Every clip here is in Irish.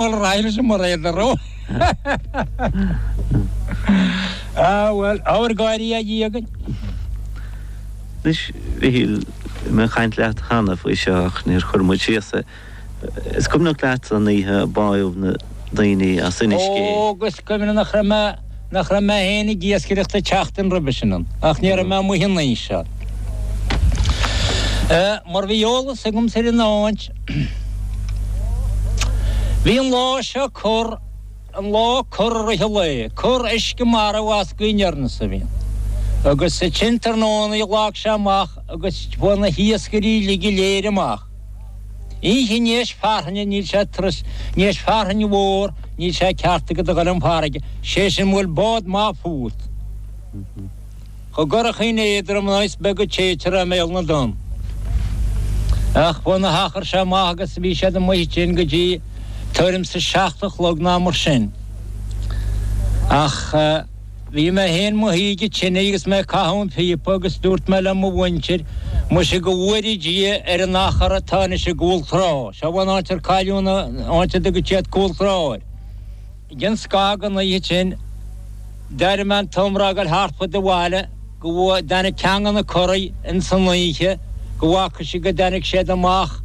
Bhuel, raghaidh sé mar é do rogha. Ah, bhuel, ábhar gáirí a Dhia againn. Anois, Mhichíl, bhí mé ag caint leat cheana faoi seo ach níor chuir muid síos é. Is cuimhneach leat an oíche a báitheadh na daoine as Inis Gé? Ó, agus cuimhne nach raibh mé, nach raibh mé féin ag iascaireacht an tseachtain roimhe sin ann, ach ní raibh mé amuigh an oíche seo. Mar bhí eolas agamsa ar an áit, Bhí an lá seo corr, an lá corr i rith an lae, corr uisce marbh as Gaoth Aniar a bhí ann. Agus ansin tráthnóna ghlac sé amach agus fuair na hiascairí uilig go léir amach. Oíche i ndiaidh fearthainne níl sé turas, i ndiaidh fearthainn mhór níl sé ceart agat a dhul chun farraige, sé sin mura bhfuil bád maith fút. Chomh gcurachaín éadrom ná is beag a téitear i mbéal na dtonn. Ach fuair na hachair seo amach agus bhí siad amuigh ansin go dtí tuairim 's a seacht a chlog ná mar sin. Ach bhí mé féin mo shuí ag an tine agus mé ag caitheamh an phíopa agus dúirt mé le mo mhuintir, muise go bhfóire Dia ar an achar atá anois i gCúl Trá. Seo an áit ar cailleadh an áit a dtugann siad Cúl Trá air. Ag an scag an oíche sin, d'éirigh mé an t-iomrá ag dul thart fud an bhaile go dtáinig ceann de na curaí ins an oíche go bhfaca sé go dtáinig siad amach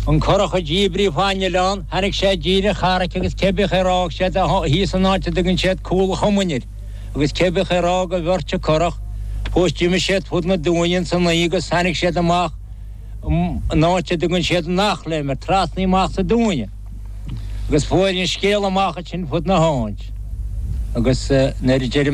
an curach a díbríodh fán oileán, tháinig sé i dtír an charraic agus cé bith ar fhág siad thíos an áit a dtugann siad Cúl an Chumainn air agus cé bith ar fhág an bheirt curach fós d'imigh siad fud na dúinne ins an oíche agus tháinig siad amach an áit a dtugann siad an Eachléim air, trasna amach sa dúinne. Agus fuair an scéal amach ansin fud na háit. Agus nuair a d'éirigh mé.